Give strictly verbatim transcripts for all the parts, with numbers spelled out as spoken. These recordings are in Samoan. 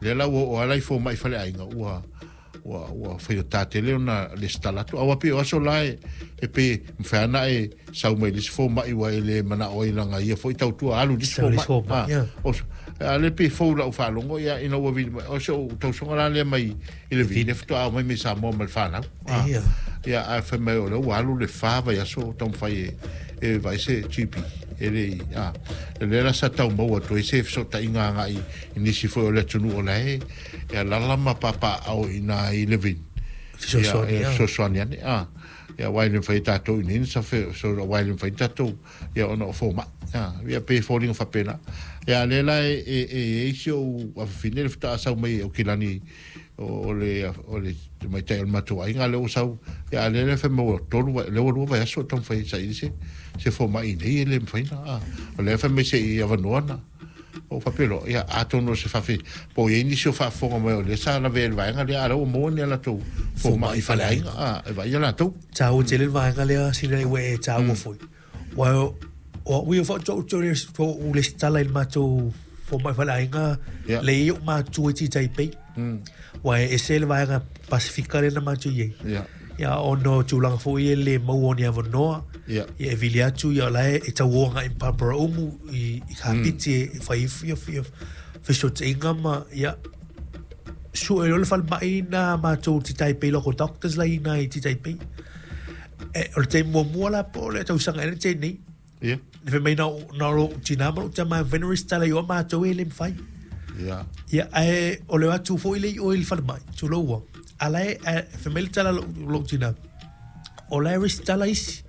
Lea la ua oo lava la i fomaʻi faleaiga ua ua ua faigatā tele ona lesitala atu aua pei o aso la e e pe mafai ana e sau mai le isi fomaʻi ua e le manao ai laga ia foi tautua alu i le isi fomaʻi a le pe fou lau faalogo ia ina ua vili mai o se ou tausoga la lea mai i le vili faatoa mai mai Samoa ma le fanau ia ae fai mai o lea ua alu le fa vaiaso taumafai e e vaai se G P e le a le la sa tau maua atu ai se fesootaiga agai i nisi foi o le atunuu o la e e alala ma papaao i nā i Levin fesoasoani ane a ia aua e le mafai e tatou i nei sa so aua e le mafai tatou ia ona o fomaʻi a ia pe foliga faapena ia lea la e e e i si ou afafine le faatoa sau mai Aukilani o le o le tamaitai o le matou aiga lea ua sau ia a lea le fai mai ua tolu lea ua lua vaiaso o taumafai e saili se se fomaʻi nei e le mafai na a o lea fai mai seʻi avanoa na o faapea loa ia atonu o se faafe po o iai nisi o faafofoga mai o lea sa lavea i le vaega lea a lea ua maua ni a latou fomaʻi faleaiga a e vaaia latou taua tele le vaega lea sina ua e taua foi ua o au ia faatoa lesitala i le matou fomaʻi faleaiga le ia o matua i Taipei ua e ese le vaega Pasifika lea na matou i ai ia ona o tulaga foi e le maua o ni avanoa ia e vili atu ia o la e tauoga i Papara-umu i Kapiti e fai ia fesootaiga ma ia sue loa le falemai na matou i Taipei local doctors la i ina i Taipei e o le taimi muamua la po o le tausaga ea le taimi nei ia le fai mai na na lou tinā ma lou tama e mafai ona resitala i o matou e le mafai ia ia ae o le o atu foi le i o i le falemai tulou ua a la e fai mai le tala a lou tinā o la e resitala isi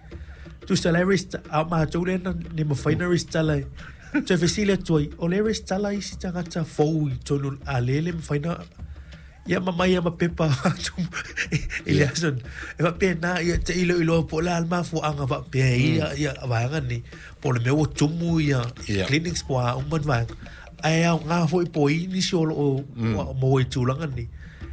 tusa la e resitala a o matou lea na le mafai ona resitala toe fesili atu ai o le resitala isi tagata fou i totonu a le le mafai ona ia ma mai ma pepa atu i le aso e faapena ia te i iloa po o le a le mafuaaga faapea ia ia vaega nei po o le mea ua tumu ia clinics po o a uma ni vaega ae aoga foi po o i nisi o loo maua i tulaga nei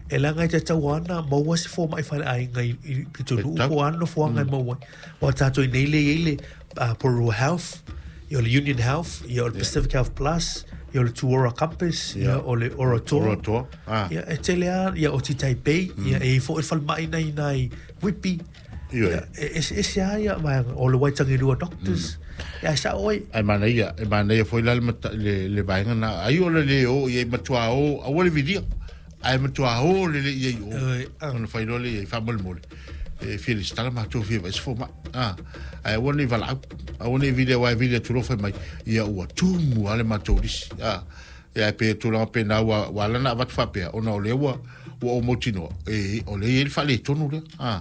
e leaga e tatau ana maua se fomaʻi faleaiga i pitonuu po o a nofoaga e maua ai ua tatou i nei le i ai le Porirua Health ia o le Union Health ia o le Pacific Health Plus ia o le Tuora Compass ia o le Oratoa ia e tele lava ia o Taipei ia e i ai foi le falemai na i ina i Whitby ia e eseese lava ia vaega o le Waitangirua Doctors ia ae sao oi ae manaia e manaia foi la le le vaega na ai o le le o ia matua o aua le vilia ae matua o le le ia i o ona fai loa le ia i faamolemole e fia lesitala matou fia vaai se fomaʻi a ae aua nei valaau aua nei vili aua e vili atu loa fai mai ia ua tumu lava le matou lisi a ia e pe tulaga pena ua ua ala ona avatu faapea ona o lea ua ua ou mautinoa e o lea e i ai le faaletonu lea a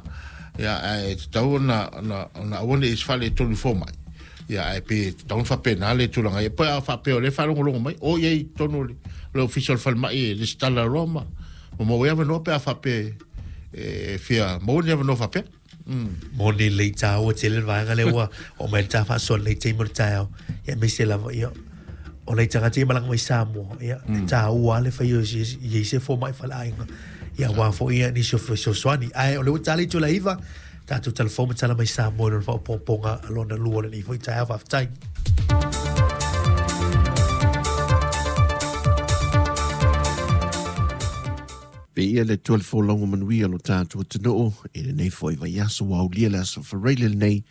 ia ae tatau ona ona ona aua nei se faaletonu i fomaʻi ia ae pe tatau ona faapena le tulaga ia pe a faapea o lea e faalogologo mai o i ai i totonu o le le ofisa o le falemai e lesitala loa ma ma maua ai avanoa pe a faapea e fia maua ni avanoa faapea. Moni lelei taua tele le vaega lea ua oo mai le ta faasoa lenei taimi o le taeao ia aemaise lava ia o nai tagata ia malaga mai Samoa ia e taua lava le fai o i ai se fomaʻi faleaiga ia aua foi ia nisi o fesoasoani ae o lea ua tala i itula e iva tatou talafou ma tala mai Samoa i lona faaopoopoga lona lua o lenei foi taeao faafetai. Viia le Atua le folauga manuia o lo tatou atunuu i lenei foi vaiaso ua aulia le aso Faraile lenei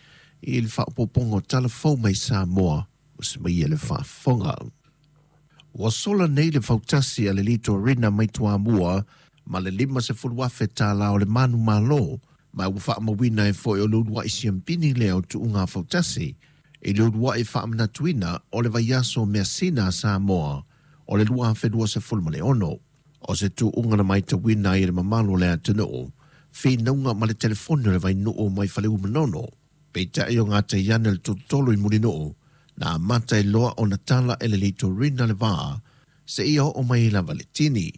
i le faaopoopoga o tala fou mai Samoa ua semaia le faafofoga. Ua sola nei le fautasi a le Litorina mai Toamua ma le lima sefulu afe tālā o le manu malo ma ua faamauina ai foi o le uluai siampini lea o tuuga fautasi i le uluai faamanatuina o le vaiaso measina a Samoa o le lua afe lua sefulu ma le ono. O se tuuga na maitauina ai e le mamalu o le atunuu, finauga ma le telefoni o le vainuu mai Faleu-Manono. Peitai o gatai ane le tolotolo i Mulinuu, na amata ai loa ona tala e le Litorina le vaa, seia oo mai lava le tini.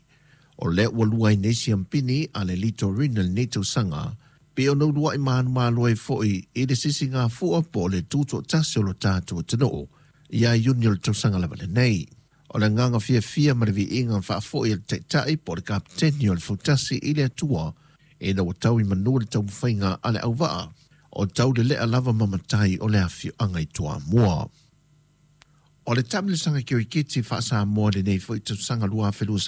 O lea ua lua ai nei siampini a le Litorina lenei tausaga, pei ona uluai manumalo ai foi i le sisigafua po o le tutoatasi o lo tatou atunuu ia Iuni o le tausaga lava lenei. O le agaga fiafia ma le viiga faafoi a le taitai po o le kapeteni o le fautasi i le Atua ina ua tau i manu le taumafaiga a le auvaa o tau lelea lava ma matai o le afioaga i Toamua. O le taamilosaga kiriketi faa-Samoa lenei foi tausaga lua afe lua